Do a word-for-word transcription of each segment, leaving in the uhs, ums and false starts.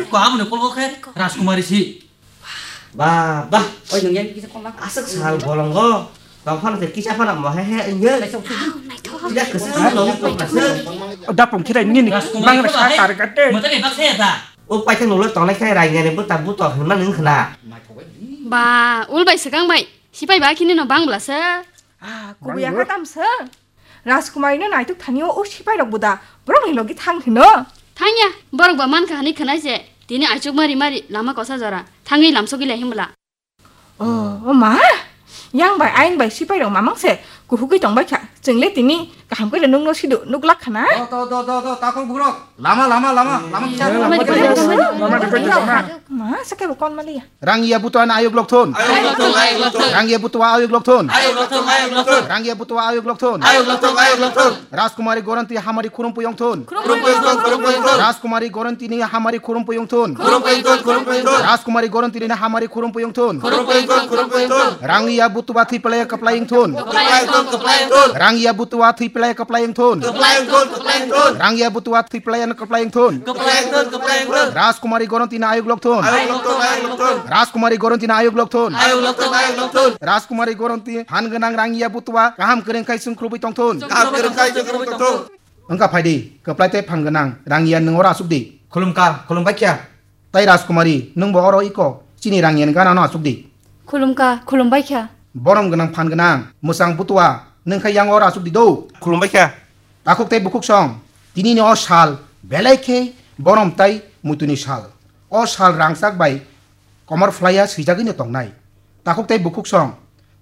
Ko abo ni kolgo khe Rajkumari si. Ba, ba. Oi, nung yang kisa kolak. Aswk sal bolongo. Tong phano se kisa phano mo he he nge. Tidak kesel lo ko kasel. Dapung khirai nini. Rajkumari bang ko sa he. Tar kate. Mata ni baksa ya ta. O paithak nunglo tongnai khe Rangiyani buta buto hinma nung khna. Ba, ul bai swkang bai. Sipai ba khini no bang bla se. Ah, kubui ya kha tam se. Rajkumari no naituk thani o, o sipai rok buda. Borok ni logi thang hino. Thang ya, borok ba man kha hani khna se. Tini aichuk mari mari lama kosa jora. Thangwi lamsogwi lai himbla. Oh, o ma. Yang bai aing bai sipai rok mamang se. Kuhugwi tong bai kha. Chwng le tini kaham khe le nung no sidu nuk lak khana. Do, do, do, do, do, takhuk bugrok. Lama, lama, lama, lama kisa. Lama di pai, lama di pai, lama. Ma, sakhe bo kon mali ya. Rangiya butua na ayuk lok thun. Ayuk lok thun, ayuk lok thun. Rangiya butua ayuk lok thun. Ayuk lok thun, ayuk lok thun. Rangiya butua ayuk lok thun. Ayuk lok thun, ayuk lok thun. Rajkumari Goronti hamari khurumpu yong thun. Khurumpu yong thun, khurumpu yong thun. Rajkumari Goronti ni hamari khurumpu yong thun. Khurumpu yong thun, khurumpu yong thun. Rajkumari Goronti ni hamari khurumpu yong thun. Khurumpu yong thun, khurumpu yong thun. Rangiya butua thwi pelaya kaplai yong thun. Kaplai yong thun, kaplai yong thun. Rangiya butua thwi pelaya kaplai yong thun. Kaplai yong thun, kaplai yong thun. Rangiya butua thwi pelaya kaplai yong thun. Kaplai yong thun, kaplai yong thun. Rajkumari Goronti na ayuk lok thun. Ayuk lok thun, ayuk lok thun. Rajkumari Goronti na ayuk lok thun. Ayuk lok thun, ayuk lok thun. Rajkumari Goronti phan gwnang Rangiya butua kaham kwrwng khai chwng khurubui tong thun. Kaham kwrwng khai chwng khurubui tong thun. Wngkha phaidi, kwplai tei phan gwnang Rangiya nwng oro asuk di. Khulumkha, khulumbai kha. Tai Rajkumari, nwngbo oro iko, chini Rangiya ni gana no asuk di. Khulumkha, khulumbai kha. Borom gwnang phan gwnang, mwchang butua, nwng khe yang oro asuk di do. Khulumbai kha. Takhuk tei bukhuk song, tini ni o sal, belai khe borom tai muitu ni sal. O sal rangchak bai komor phlaiya swijagwi no tongnai. Takhuk tei bukhuk song,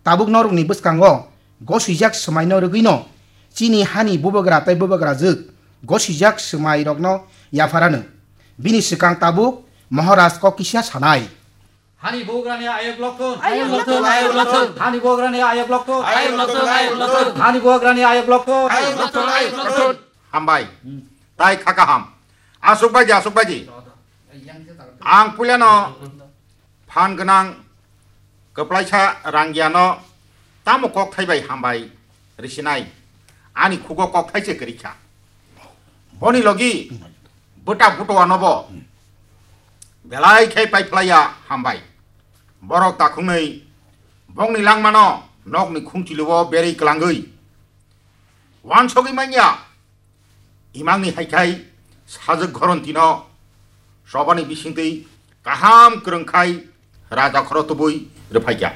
tabuk norokni bwskango gosijak swmaino rwgwino chini hani bubagra tei bubagrajwk gosijak swmairokno yapharano. Bini swkang tabuk Maharaj kok kisa sanai. Hani bubagrani ayok lokthun. Ayok lokthun, ayok lokthun. Hani bubagrani ayok lokthun. Ayok lokthun, ayok lokthun. Hani bubagrani ayok lokthun. Ayok lokthun, ayok lokthun. Hambai. Tai kha kaham. Asuk baidi, asuk baidi. Ang puilano phan gwnang kwplaisa Rangiano tamo kokthai bai hambai risinai. Ani khugo kokthai se kwrwi kha. Boni logi bwta butoanobo belai khe paiphlaiya hambai. Borok takhungnwi bongni langmano nokni khungchilio berwi kwlangwi wansogwi manya. Imangni hai khai sajwk Gorontino chobani bisingtwi kaham kwrwng khai raja khoro tubui rwphaikha.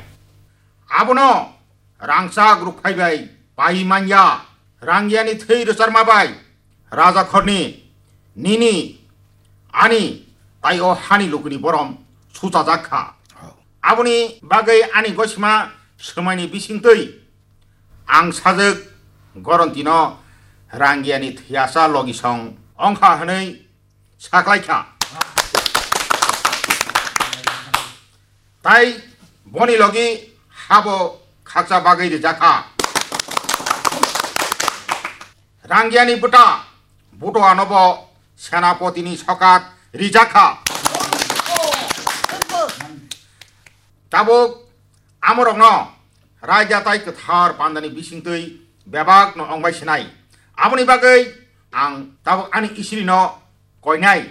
Abono rangchak rukphai bai pai manya, Rangiani thwi rwcharma bai raja khorni nini ani tai o hani lukuni borom suchajak kha. Aboni bagwi ani gosima swmaini bisingtwi ang sajwk Gorontino Rangiani thwiasa logisong ongkha hwnwi saklaikha. Tai boni logi habo khakcha bagwi rijakha. Rangiani bwta buto anobo senapotini sokat rijakha. Tabuk amorokno raida tai kwthar pandani bisingtwi bebakno ongbai sinai. Aboni bagwi ang tabuk ani isirino koinai.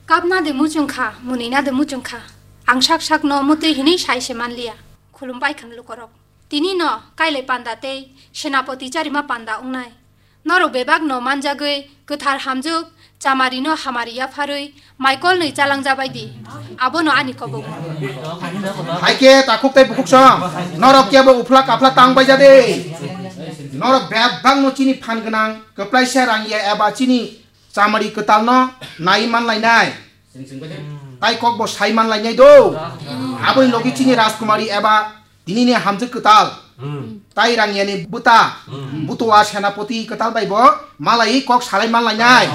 Kapna de muchung kha, munina de muchung kha. Ang sak sakno mutwi hinwi sai se manliya. Khulumbai khan lukorok. Tini no kailai panda tei senapoti charima panda wngnai. Norok bebak no manjagwi kwthar hamjuk chamari no hamari yapharwi maikol nwi chalang jabai di. Abono ani kobok. Haikhe takhuk tei bukhuk song, norok kebo uphla kaphla tang bai jade. Norok bebak no chini phan gwnang, kwplaisa Rangiya eba chini chamari kwtal no nai man lainai. Tai kok bo sai man lainai do. Aboni logi chini Rajkumari eba tinini hamjwk kwtal. Tai Rangiani bwta. Butua senapoti kwtal bai bo malai kok salai man lainai.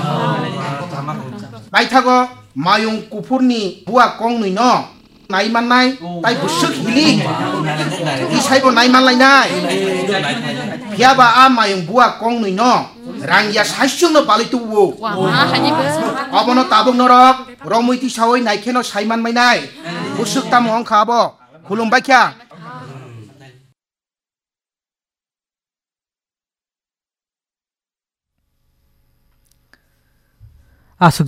Paithago mayung kuphurni bua kongnwi no nai mannai, tai bwswk hili. Tisaibo nai man lainai. Phiyaba a mayung bua kongnwi no Rangiya saichung no balwi tubuo. Abono tabuk norok romwi tisawi naikheno sai man mainai. Bwswk tamo wngkha abo. Khulumbai kha. Aswk